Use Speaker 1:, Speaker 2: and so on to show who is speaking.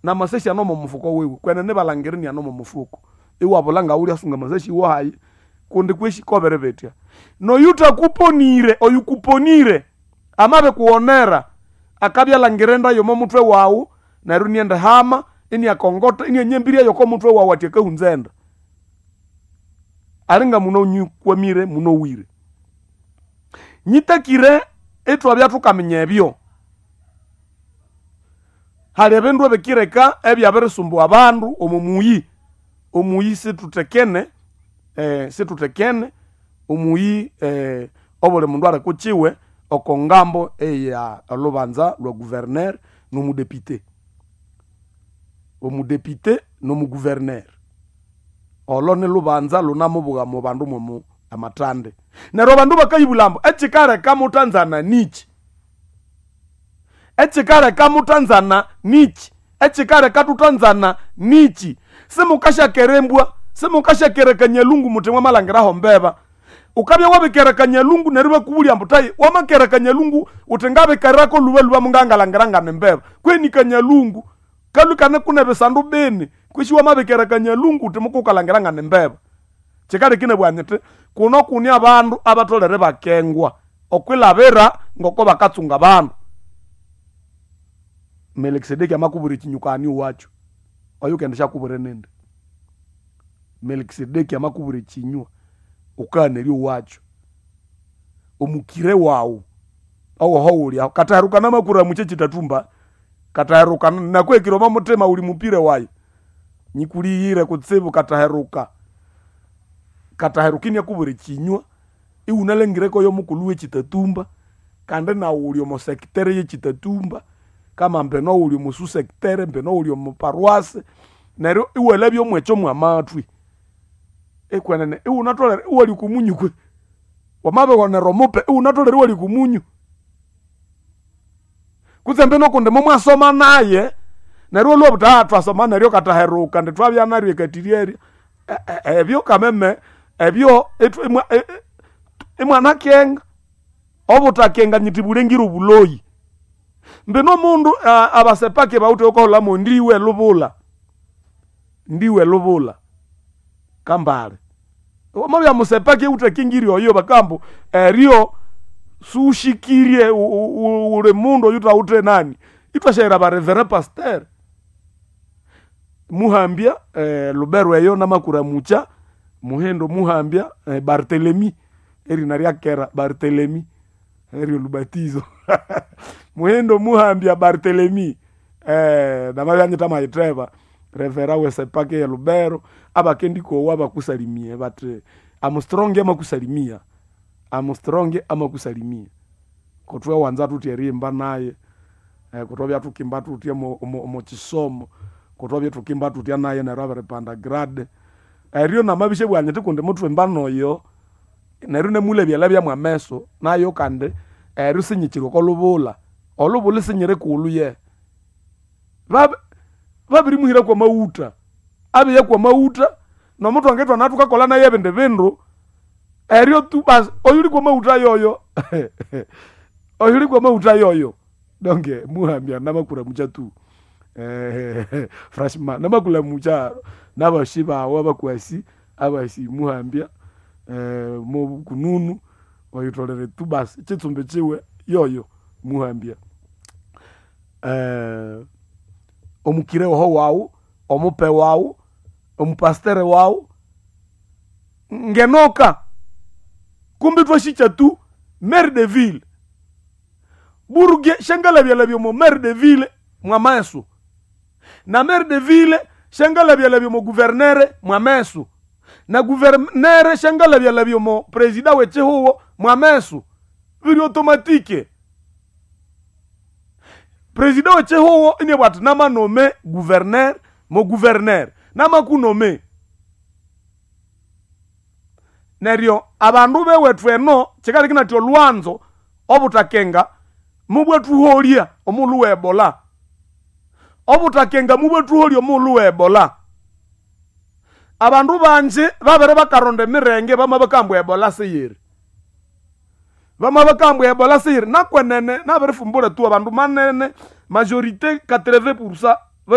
Speaker 1: Namasasi ano mumufuko wiwe kwenene balangire niano mumufuko, iwabula ngawulyasunga amasasi wahayi kundi kweshi kobere betya. Noyutakuponire, oyukuponire amabikuwonera akabya alangire enda yomo mutwe wawu, neryo inienda hama iniakongota inianyambirya yoko mutwe wawu ati akahunza enda. Alinga muno nyikwamire munowire. Nyitakire ithwabya thukaminya ebyo. Hali ebindu ebikireka ebyabirisumbuwa abandu omo muyi. Omuyi situthekene, situthekene omuyi, obuli mundu ali kukiwe oko ngambo eya olhubanza lwa gouverneur nomudepite. Omudepite nomugouverneur. Olo nilhubanza lunamubuga omo bandu mwomo amathande. Neryo abandu bakayibulha ambu ekikaleka muthanzana niki? Ekikaleka muthanzana niki? Ekikaleka thuthanzana niki? Simukasyakerembwa, simukasyakera kanyalungu muthi mwamalhangiraho mbeba. Wukabya wabikera kanyalungu neryo ibakubulya ambu tayi wamakera kanyalungu wuthi ngabikerako lhubalhuba mungangalhangira ngane mbeba. Kweni kanyalungu kalhwe ikane kune bisandu bini kwisi wamabikera kanyalungu wuthi mukukalhangira ngane mbeba. Kyikaleka inabugha nyithi kuno kuni abandu abatholere ibakengwa okwilhabira ngoko bakatsunga abandu. Melikisedeki amakubwira ekinyuka ani owakyu? Oyukendishyakubwira nindi? Melikisedeki amakubwira ekinywa wukaghanerya owakyu. Omukire wawu owoho wuli aho katahirukana amakuramu kyekyitathumba, katahirukana nakuhekire omo muthima wuli mupire wayi, nyikulighire kutsibu kataheruka. Kataheruka iniakubwira ekinywa iwunalangire koyo mukulhu wekyitatumba kandi nawu wuli omo secteur yekyitatumba kama mbino wuli omo sous secteur, mbino wuli omo paroisse, neryo iwalhabya omwekyo mwamathwi. Ikwenene iwunatholere iwalya oko munyu kwe. Wamabighonera omupe iwunatholere iwalya oko munyu. Kutse mbino kundi momwasoma naye neryo iwalhwa iwabugha wuthi thwasoma neryo kataheruka indi thwabya neryo ekathiryerya, ebyo kameme ebyo imwanakenga. Obuthakenga nyithi bulengire obuloyi. Mbino omundu abasepaki bawithe wukaholamo ndiwe lubulha, ndiwe lubulha kambale. Wamabya musepaki ewuthakingirye oyo bakabugha ambu eryo siwushikirye wuli mundu oyuthawithe nani, ithwasyaghira aba reverend pasteur. Muhambya Lubero eyo namakuramukya Muhindo Muhambya Barthelemy erina ryakera Barthelemy eryo lubatizo. Muhindo Muhambya Barthelemy namabya nyithamayitheba reverend we sepaki ye Lubero abakendikowa bakusalimie bathi Armstrong amakusalimia, Armstrong amakusalimia. Kothwawanza thuthi erihimba naye, kuthwabya thukimba thuthya omo kisomo, kuthwabya thukimba thuthya naye neryo abiripanda grade. Eryo namabishyabugha nyithi kundi muthwimba noyo, neryo inamulhabyalhabya mwameso nayo kandi eryo sinyikyiri oko lhubulha. Olhubulha isinyiri kulhu ye. Babirimuhira kwamaghutha, abiya kwamaghutha nomuthwange ithwana thukakolha nayo ebindi bindu, eryo tu basi oyuli kwamaghutha yoyo oyuli kwamaghutha yoyo. Donc muhambya namakuramukya tu franchement namakuramukya nabasi bawu abakwasi abasi muhambya mobukununu oyutholere tu basi ekitsumbi kiwe yoyo muhambya. Omukire oho wawu, omupe wawu, omupastere wawu, ngenoka kumbi ithwasikya tu maire de ville. Buruge syangalhabyalhabya omo maire de ville mwamesu, na maire de ville syangalhabyalhabya omo gouverneur mwamesu, na gouverneur syangalhabyalhabya omo president w'ekihugho mwamesu. Biri automatique. President w'ekihugho iniabugha athi namanome gouverneur mo gouverneur namakunome. Neryo abandu bewethu eno kikaleka inathi olhwanzo obuthakenga mubwathuholya omughulhu we Ebola. Obuthakenga mubwathuholya omughulhu we Ebola. Abandu bangi babere bakaronda emirenge bamabakabugha ambu Ebola siyiri. Bamabakabugha ambu Ebola siyiri nakwenene nabirifumbura tu abandu manene majorité 80%